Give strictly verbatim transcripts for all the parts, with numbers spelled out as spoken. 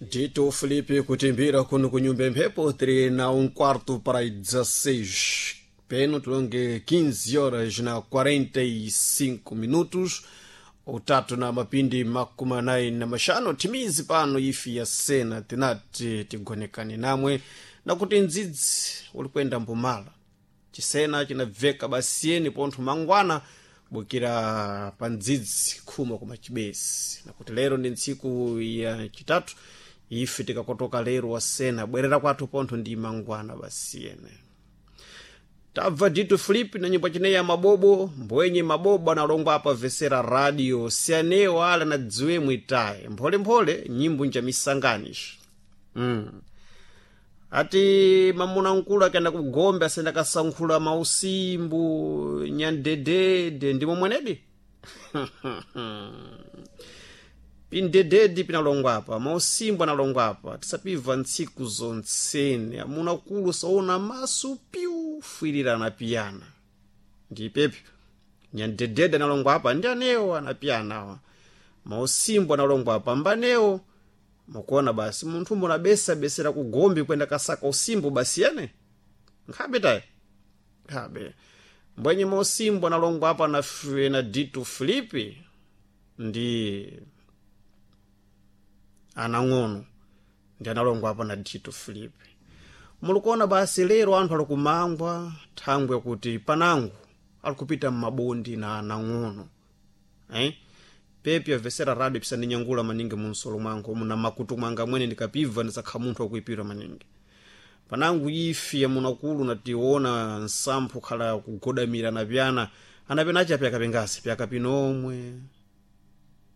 Dito Felipe kutimbira kuno kunyumba mphepo tiri na um quarto para as dezesseis peno tulonge quinze horas na quarenta e cinco minutos, utatu na mapindi makumi anayi na mashano timizi pano ifi ya sena tinati tigonekane namwe nakuti ndzidzi ulikwenda mbumala chisena chinabveka basiyeni pontho mangwana bukira pa ndzidzi khuma kuma chibesi nakuti lero ndi ntsiku ya chitatu ife tikakotoka lero wasena bwerera kwathu pontho ndi mangwana basiyene. Tabva Dito Filipe na nyimbo chineyi ya mabobo mbwenye mabobo analongwa apa vesera radio sianewo ala na dziwe mwitaye mpholemphole nyimbo njamisanganishi mm. Ati mamuna nkulu akaenda kugombe asenda kasankhula mausimbu nyandedede ndimo mwenedi pindededi pinalongwa apa mausimbu analongwa apa tisapibva ntsiku zontsene amuna kulu saona maso piu fwirirana piyana ndipepyo nyandedede analongwa apa ndi anewo anapiyana awa mausimbu analongwa apa mbanewo mukuona basi munthu mbona besera kugombe kwenda kasaka usimbu basi yene nkhabe tayi nkhabe mbwenye mausimbu analongwa apa na, na Dito Filipe ndi anang'ono ndi analongwa apa na Dito Filipe. Mulikuona basi lero anthu alikumangwa thangwe kuti panango alikupita m'mabondi na anang'ono eh? Pepi avesera radio pisandinyangula maningi munsolo mwangu muna makutu mwanga mwene ndikapibva ndisakha munthu wakuipira maningi panangu ifi yamunakulu nationa nsamphu khala kugodamira na pyana anapena acha pyaka pingasi pyaka pinomwe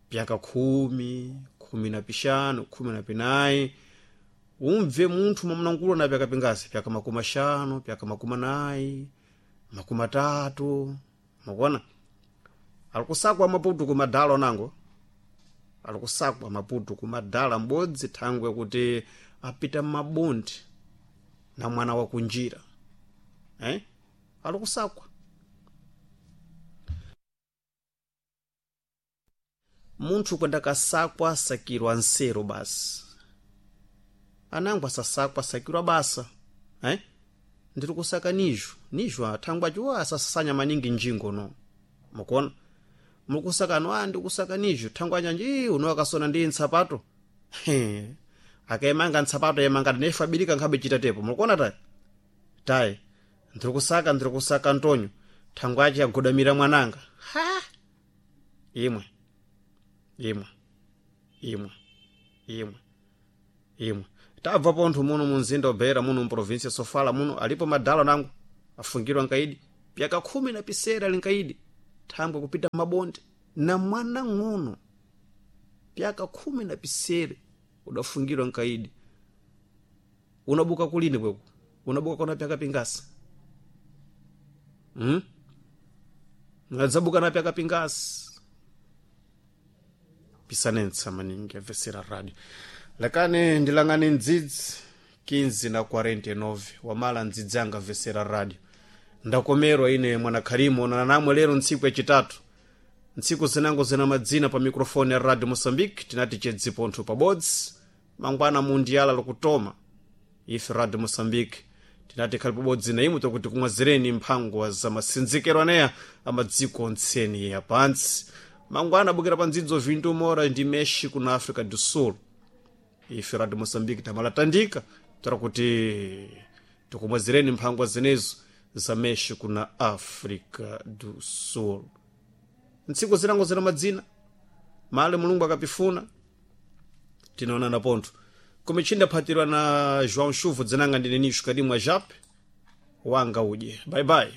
pyaka khumi khumi na pixanu khumi na pinayi umve munthu mwamunakulu na pyaka pingasi pyaka makumi axanu pyaka makumi anayi makumi atatu mukuona alikusakwa maputu kumadala onango alikusakwa maputu kumadala m'bodzi thangwe kuti apita m'mabondi na mwana wakunjira eh? Alikusakwa munthu kwenda kasakwa sakirwa nsero basi anango asasakwa sakirwa basa eh? Ndiri kusaka nijo nijo athangwe aciwa asasasanya maningi njingo no mukuona mukusakano a ndikusaka nijo thangwe anyanji uno akasona ndi nsapato akaimanga nsapato yemanga nefa abirika nkhabe chita tepo mukuona tayi tayi ndiri kusaka ndiri kusaka ntonyo thangwe aci agodamira mwananga ha imwe imwe imwe imwe imwe tabva pontho muno munzinda ubeira muno muprovinsia Sofala muno alipo madala nango afungirwa nkaidi pyaka khumi na pisera linkaidi thangwe kupita mabonde na mwana ng'ono pyaka khumi na pisere udafungirwa nkaidi unabuka kulini kweku unabuka kona pyaka pingasi hmm? Unadzabuka na pyaka pingasi pisanentsa maningi avesera radio lekani ndilangani ndzidzi quinze na quarenta e nove wamala ndzidzi anga avesera radio ndakomerwa ine mwanakharimu onana namwe lero ntsiku yachitatu ntsiku zinango zina madzina pa mikrofoni ya Radio Moçambique tinati chedzipontho pabodzi mangwana mundiyala lokutoma ife Radio Moçambique tinati khali pabodzi na imwe tokuti kumwazireni mphangwa za masinzikiro aneya amadziko ontseni ya pantsi mangwana abukira pa ndzidzo vintu mora ndi México na África do Sul ife Radio Moçambique tamalatandika tora kuti tikumwazireni mphangwa zinezo za México na África do Sul ntsiku zinango zina madzina male Mulungu akapifuna tinaonana pontho kumichinda phatirwa na João Chuvo dzinanga ndine Nisho Kadimwa Jape wanga udye bye bye.